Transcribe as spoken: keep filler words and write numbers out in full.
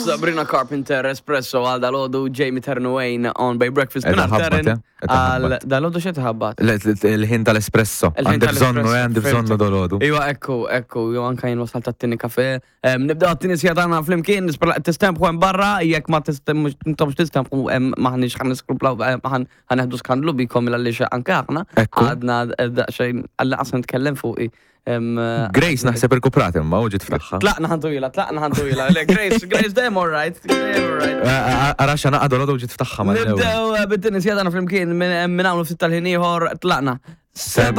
Sabrina Carpenter, Espresso għal dal-għodu, Jamie Ternuane on Bay Breakfast. Qed Minn ħabbat, Terren eh? Qed għal ħabbat. dal-għodu xe tħabbat? Le- le- Il-ħin tal-espresso. Il-ħin Għandi bżonnu, tal-espresso, eh, għandi bżonnu fhimtek. dal-għodu. Iwa, ekku, ekku, jo anka jien wasalt għat-tieni kafe. Em, Nibdew għat-tieni siegħa tagħna flimkien, nispera tistempħu hemm barra, jekk ma tistemux intomx tistempħu hemm maħniex ħan niskruplaw, ħan ħaneħdu skandlu bikom għaliex anke aħna. Ekku. Għadna eh, daqsxejn għalla qasam nitkellem fuqi. Em, eh, Grace naħseb irkuprat imma u ġiet fl-aħħar. Tlaqna ħantujla, tlaqna ħantujla. Le, Grace, Grace, dejjem all right. Dejjem all right. Ara xana għadu l ġiet ftaħħa mal-ewwel. Nibdew eh, bit-tieni siegħa tagħna flimkien minn minn hawn ftit tal-ħin ieħor tlaqna. Seba'